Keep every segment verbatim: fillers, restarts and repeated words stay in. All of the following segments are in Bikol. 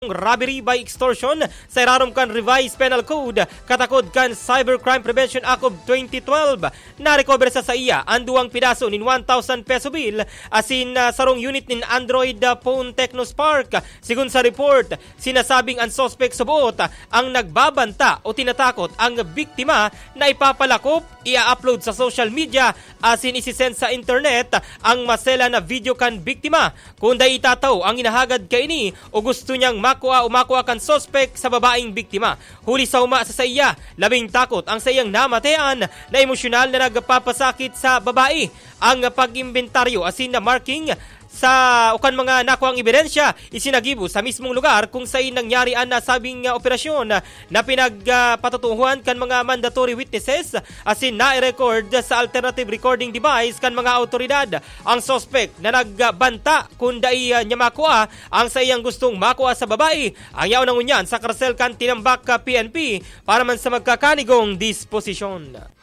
robbery by extortion sa irarom kan Revised Penal Code, katakod kan Cybercrime Prevention Act of twenty twelve. Narecover sa saiya an duwang pidaso nin one thousand peso bill asin, ah, sarong unit nin Android, ah, phone Tecno Spark. Sigon sa report, sinasabing an suspek suboot, ah, ang nagbabanta o tinatakot ang biktima na ipapalakop, i-upload sa social media asin isisend sa internet ang maselan na video kan biktima. Kun dai itatao ang hinahagad kaini o gusto niyang makua o makua kan suspek sa babaeng biktima. Huli sa huma sa saiya, labing takot ang saiyang namatean na emosyonal na nagpapasakit sa babae. Ang pag-imbentaryo asin na marking sa o kan mga nakuang ebidensya isinagibo sa mismong lugar kung sain nangyari an nasabing, ah, operasyon na pinagpatutuhan kan mga mandatory witnesses asin nai-record sa alternative recording device kan mga awtoridad. Ang suspek na nagbanta kun dai, ah, niya makua ang saiyang gustong makua sa babae, ang yaon na ngunyan sa karsel kan Tinambac, ah, P N P para man sa magkakanigong disposisyon.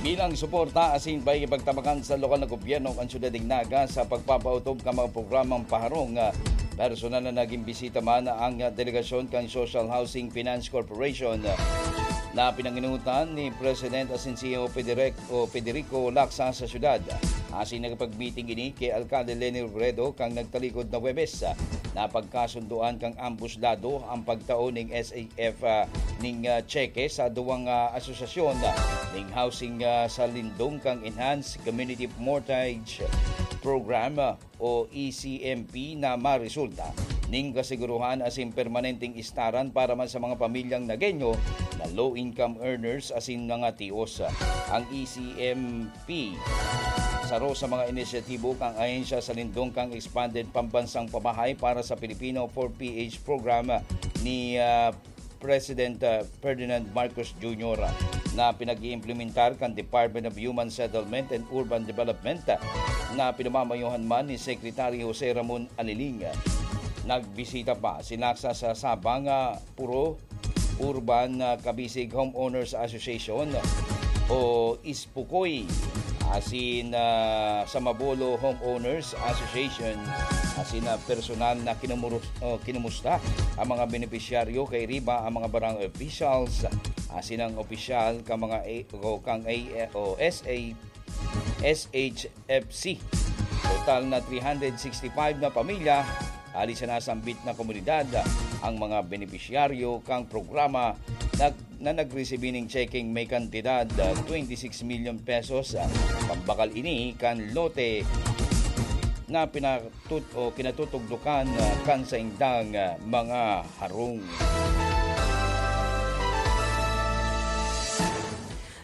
Bilang suporta asin pakikipagtabakan sa lokal na gobyerno kan Syudad nin Naga sa pagpapaotob kan mga programang paharong, ah, personal na naging bisita man ang, ah, delegasyon kan Social Housing Finance Corporation, ah, na pinanginutan ni President asin C E O Federic-, o Federico Lacsa sa syudad. Asin nakipag-meeting ini ki Alkalde Leni Robredo kan nagtalikod na Huwebes. Napagkasundoan kan ambos lado ang pagtao ning S A F, ah, ning, ah, tseke sa duwang, ah, asosasyon, ah, ning housing, ah, sa lindong kan Enhanced Community Mortgage Program, ah, o E C M P na maresulta ning kasiguruhan asin permanenteng istaran para man sa mga pamilyang Nagueño na low-income earners asin mga tios. Ang E C M P, saro sa mga inisyatibo kan ahensya sa lindong kan Expanded Pambansang Pamahay para sa Pilipino four P H program ni, ah, President, ah, Ferdinand Marcos Junior, ah, na pinag-iimplementar kan Department of Human Settlement and Urban Development, ah, na pinamamayohan man ni Secretary Jose Ramon Aliling. Nagbisita pa si Lacsa sa Sabang, ah, Puro Urban, ah, Kabisig Homeowners Association o Pukoy, asin, ah, sa Mabolo Homeowners Association, asin, ah, personal na kinumurus-, o kinumusta ang mga benepisyaryo, kairiba ang mga barangay officials, asin ang opisyal kan mga A-, o kang A-, o S A, S H F C. Total na three hundred sixty-five na pamilya hali sa nasambit na komunidad ang mga benepisyaryo kan programa na na nagresibi nin checking may kantidad, ah, twenty-six milyon pesos. Pambakal ini kan lote na pinatut-, o kinatutugdukan, ah, kan saindang, ah, mga harong.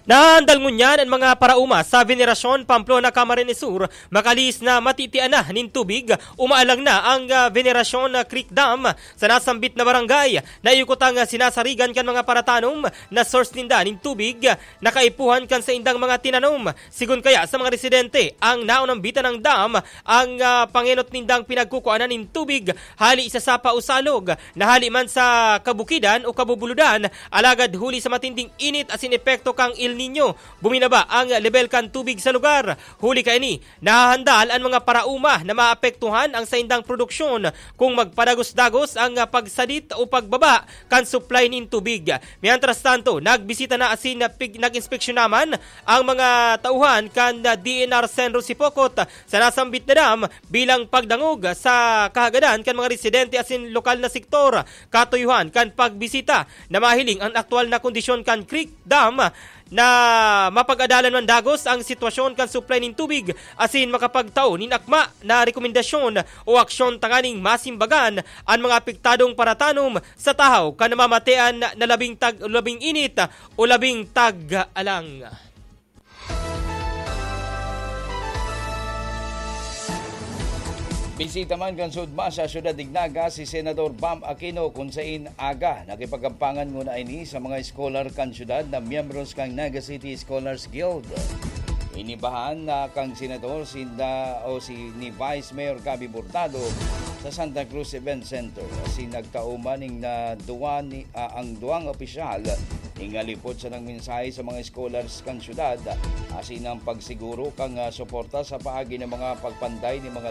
Nahandal ngunyan an mga paraoma sa Veneracion, Pamplona, Camarines Sur, makalihis na matitian na nin tubig. Umaalang na ang, ah, Veneracion, ah, Creek Dam sa nasambit na barangay. Naiukot ang, ah, sinasarigan kan mga paratanom na source ninda nin tubig na kaipuhan kan saindang mga tinanom. Sigon kaya sa mga residente, ang naunambitan ng dam ang, ah, pangenot nindang pinagkukuanan nin tubig hali sa sapa o salog na hali man sa kabukidan o kabubuludan, alagad huli sa matinding init asin epekto kan El Niño, buminaba ang lebel kan tubig sa lugar. Huli kaini, nahahandal an mga paraoma na maapektuhan ang saindang produksyon kung magpadagos-dagos ang, ah, pagsadit o pagbaba kan supply nin tubig. Mientras tanto, nagbisita na asin pig-, nag-inspeksyon naman ang mga tauhan kan, ah, D N R Senro Sipocot sa nasambit na dam bilang pagdangog sa kahagadan kan mga residente asin lokal na sektor. Katuyuhan kan pagbisita na mahiling ang aktual na kondisyon kan Creek Dam na mapag-adalan man dagos ang sitwasyon kan supply nin tubig asin makapagtao nin akma na rekomendasyon o aksyon tanganing masimbagan an mga apektadong paratanom sa tahaw kan namamatean na labing tag-, labing init o labing tag-alang. Bisita man kan SUDMA sa Syudad nin Naga si Senador Bam Aquino, kun sain aga nakipagkampangan nguna ini sa mga scholar kan syudad na miyembros kan Naga City Scholars Guild. Inibahan na kan senador sinda o si ni Vice Mayor Gabby Hurtado sa Santa Cruz Event Center. Asin nagtao man nin, ah, duwa ni, ah, ang duwang opisyal ning halipot sa nagmensahe sa mga scholars kan syudad, asin ang pagsiguro kan, ah, suporta sa paagi nin mga pagpanday nin mga